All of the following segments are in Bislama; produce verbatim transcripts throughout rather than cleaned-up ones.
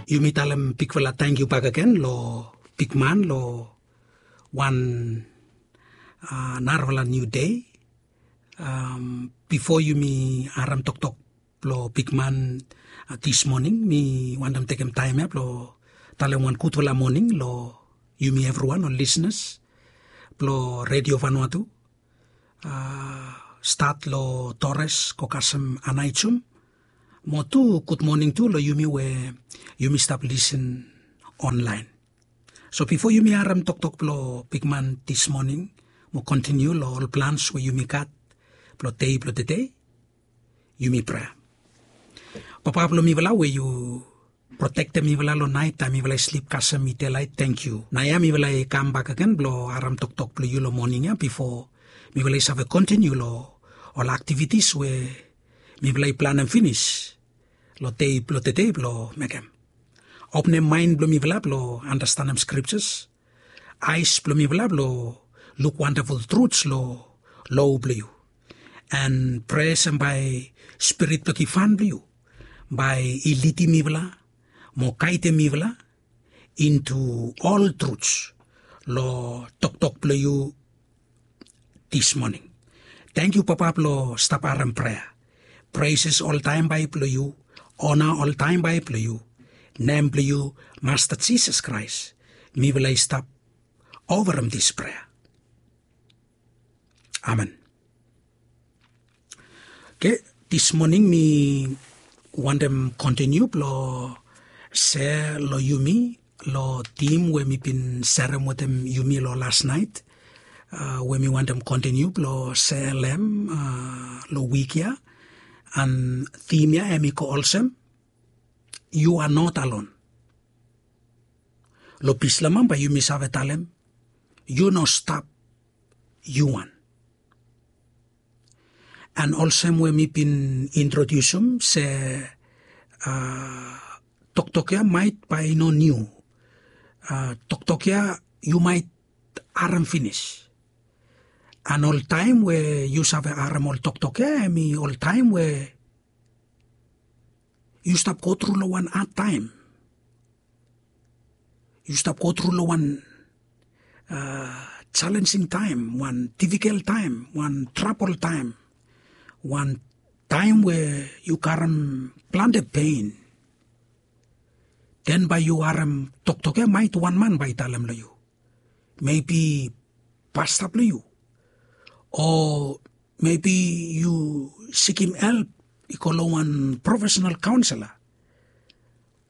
Yumi talem bigfala tangkiu bakegen lo bigman lo wan narafala niu dei. Bifo yumi harim toktok blong bigman dis moning, mi wantem tekem taem ya blong talem wan gudfala moning long yumi evriwan ol lisnas blong redio vanua tu, stat long tores go kasem anaijum. Mo tu gudmoning tu long yumi we yumi stap lisin onlaen. So bifo yumi harim toktok blong bigman dis moning mo kontiniu long ol plans we yumi gat blong dei blong tedei, yumi prea. Papa blong mifala we yu protektem mifala long naet taem mifala i slip kasem i delait, tangkiu. Naoia mifala i kam bakegen blong harim toktok blong yu long moning ya bifo mifala i save kontiniu long ol aktivitis we mifala i planem finis long dei blong tedei blong mekem. Openem maen blong mifala blong anastenem skriptas, aes blong mifala blong luk wandaful truts long lo blong yu. An prea se bae spirit blong givhan blong yu bae i lidim mifala mo gaedem mifala intu ol truts long toktok blong yu dis moning. Tangkiu Papa blong stap harim prea. Preses oltaem bae blong yu, ona oltaem bae blong yu. Nem blong yu Masta Jisas Kraes mifala i stap ovarem dis prea. Amen. Oke, dis moning mi wantem kontiniu blong sea long yumi long tim we mi bin serem wetem yumi long las naet, we mi wantem kontiniu blong sea long em long wik ya. An tim ya em i go olsem, yu a not alon. Long Bislam bae yumi save talem, yu no stap yu wan. An olsem we mi bin introdiusim se toktok ya maet bae i no niu. Toktok ya yu maet harim finis. An oltaem we yu save harim ol toktok ya em i oltaem we yu stap gotru long wan hadtaem. Yu stap gotru long wan jalenjing taem, wan difikel taem, wan trabol taem, wan taem we yu karem plante pen. Den bae yu harem toktok ya maet wan man bae i talem long yu, mebi pasta blong yu, o mebi yu sikim help i go long wan profesenal kaonsela,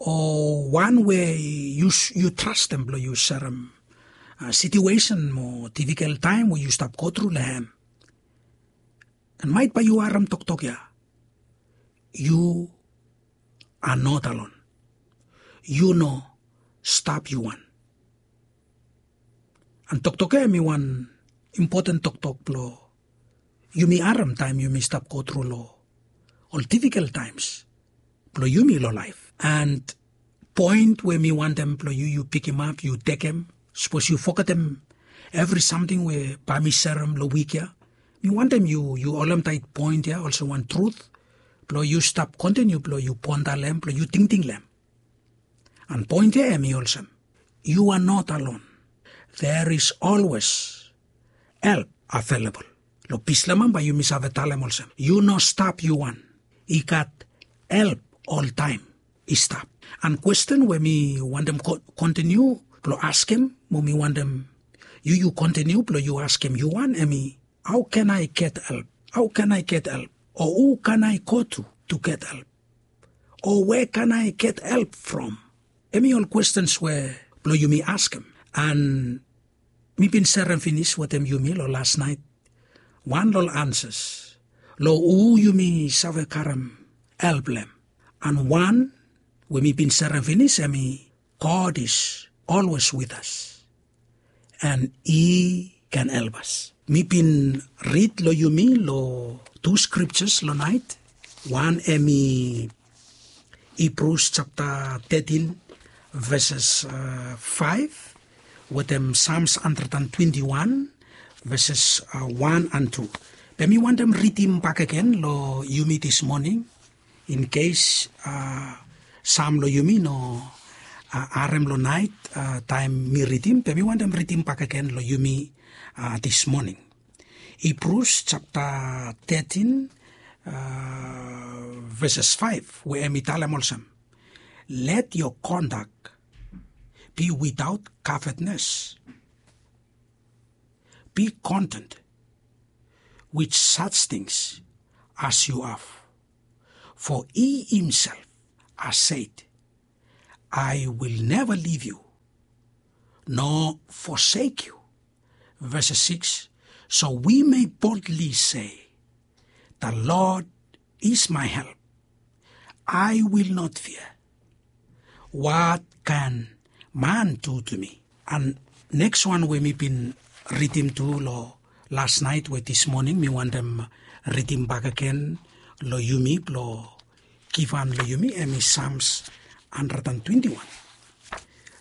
o wan we yu trastem blong yu serem sitiuesen mo difikel taem we yu stap gotru long hem. An maet bae yu harem toktok ya, yu a not alon. Yu no stap yu wan. An toktok ya em i wan impoten toktok blong yumi harem taem yumi stap gotru long ol difikel taems blong yumi long laef. An poen we mi wantem blong yu yu pikimap yu tekem, sapos yu fogetem evri samting we bae mi serem long wik ya, mi wantem yu yu holemtaet poen ya olsem wan trut blong yu stap kontiniu blong yu ponda long hem blong yu tingting long hem. An poen ya em i olsem, yu a not alon. There is always help available. Long Bislam bae yumi save talem olsem, yu no stap yu wan. I gat help oltaem i stap. An kwesten we mi wantem kontiniu blong askem mo mi wantem yu yu kontiniu blong yu askem yu wan em i, hao can I get help? Hao can I get help? O hu can I go to to get help? O where can I get help from? Em i ol kwestens we blong yumi askem. An mi bin serem finis wetem yumi long las naet wan long ol ansas long hu yumi save karem help long hem. An wan we mi bin serem finis em i, God is always with us, and He can help us. Mi bin rid long yumi long tu skriptas long naet. Wan em i Hibrus japta tetin veses faef wetem Sams handred an twenti wan veses wan an tu. Be mi wantem ridim bakegen long yumi dis moning, in kes sam long yumi no harem long naet taem mi ridim, be mi wantem ridim bakegen long yumi dismoning. Hibrus japta tetin, veses faef, we hem i talem olsem, let your conduct be without covetousness. Be content with such things as you have. For he himself has said, I will never leave you nor forsake you. Verse six. So we may boldly say, the Lord is my help. I will not fear. What can man do to me? And next one we mi bin ridim tu long las naet we dismoning mi wantem ridim bakegen long yumi blong givhan long yumi, hem i Psalms hundred and twenty-one.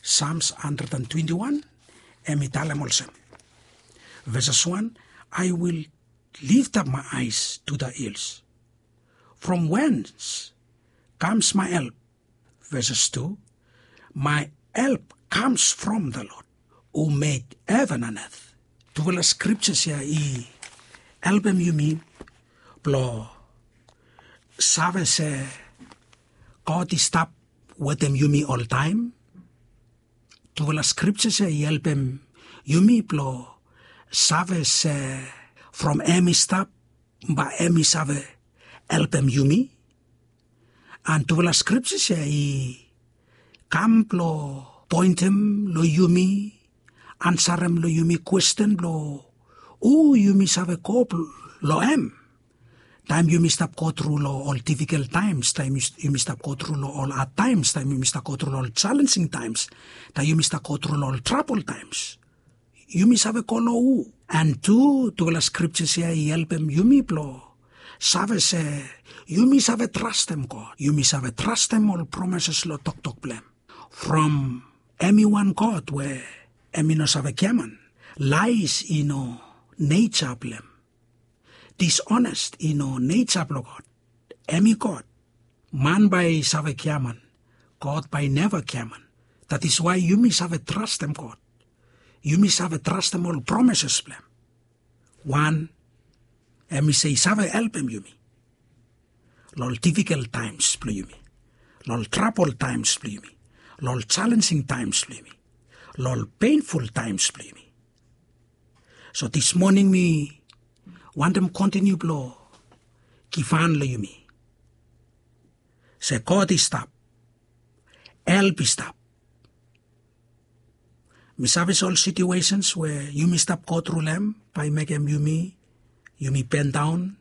Psalms hundred and twenty-one, hem i talem olsem, verses one, I will lift up my eyes to the hills. From whence comes my help? Verses two, my help comes from the Lord who made heaven and earth. Tufala scriptures ya i helpem yumi blong save se God i stap wetem yumi oltaem. Tufala scriptures ya i helpem yumi blong save se from hem i stap, bae hem i save helpem yumi. And tufala scriptures ya i kam blong poentem long yumi, ansarem long yumi kwesten blong hu yumi save go long hem. Taem yumi stap go tru long ol difikel taems, taem yumi stap go tru long ol had taems, taem yumi stap go tru long ol challenging taems, taem yumi stap go tru long ol trabol taems, yumi save go long hu? And tu tufala scriptures ya i helpem yumi blong save se yumi save trastem God, yumi save trastem ol promises long toktok blong hem. From hem i wan God we hem i no save giaman. Lies i no neja blong hem. Dishonest i no neja blong God. Hem i God. Man bae i save giaman, God bae i neva giaman. That is why yumi save trastem God. Yumi save trastem ol promises blong hem. Wan, hem i se i save helpem yumi long ol difikel taems blong yumi, long ol trabol taems blong yumi, long ol challenging taems blong yumi, long ol painful taems blong yumi. So dismoning mi wantem kontiniu blong givhan long yumi se God i stap, help i stap. Mi save se ol situations we yumi stap go tru long hem bae i mekem yumi, yumi bendaon,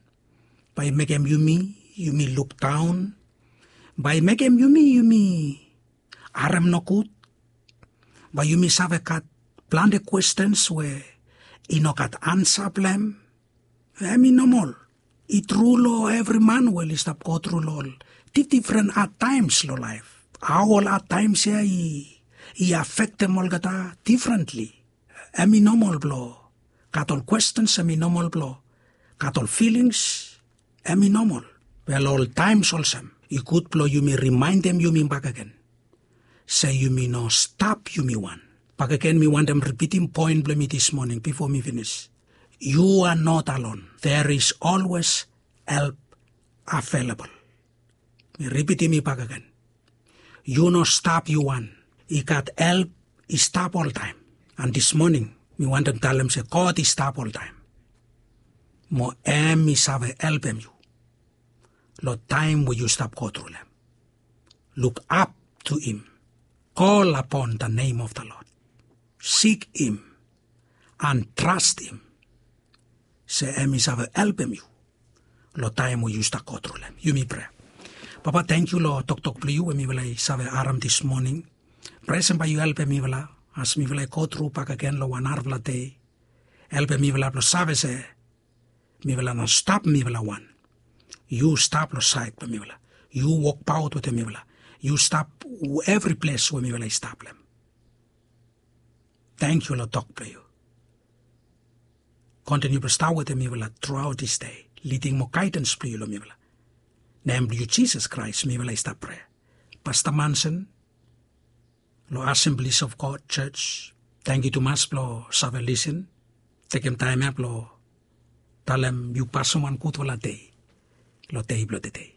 bae i mekem yumi, yumi lukdaon, bae i mekem yumi, yumi harem nogud, bae yumi save gat plante kwestens we i no gat ansa blong hem. Hem i nomol. I tru long evri man we oli stap go tru long ol difdifren had taems long laef. Hao ol had taems ya i afektem olgeta difrentli. Hem i nomol blong gat ol kwestens, hem i nomol blong gat ol filings, hem i nomol. Be long ol taems olsem i gud blong yumi rimaendem yumi bakegen se yumi no stap yumi wan. Bakegen mi wantem ripitim poen blong mi dismoning bifo mi finis. You are not alone. There is always help available. Mi ripitim i bakegen. Yu no stap yu wan. I gat help i stap oltaem. And dismoning mi wantem talem se God i stap oltaem. Mo hem i save helpem yu long taem we yu stap go tru long hem. Look up to him. Call upon the name of the Lord. Seek him and trust him se hem i save helpem yu long taem we yu stap go tru long hem. Yumi prea. Papa, tangkiu long toktok blong yu we mifala i save harem dismoning. Prea se bae yu helpem mifala as mifala i go tru bakegen long wan narafala dei. Helpem mifala blong save se mifala no stap mifala wan. Yu stap long saed blong mifala. Yu wokbaot wetem mifala. Yu stap evri ples we mifala i stap long hem. Tangkiu long tok blong yu. Kontiniu blong stap wetem mifala truaot dis dei. Liding mo gaedans blong yu long mifala. Nem blong yu Jisas Kraes mifala i stap prea. Pasta Manson, long Assemblies of God Church. Tangkiu tumas blong save lisin. Tekem taem ya blong talem yu pasim wan gudfala dei long dei blong tedei.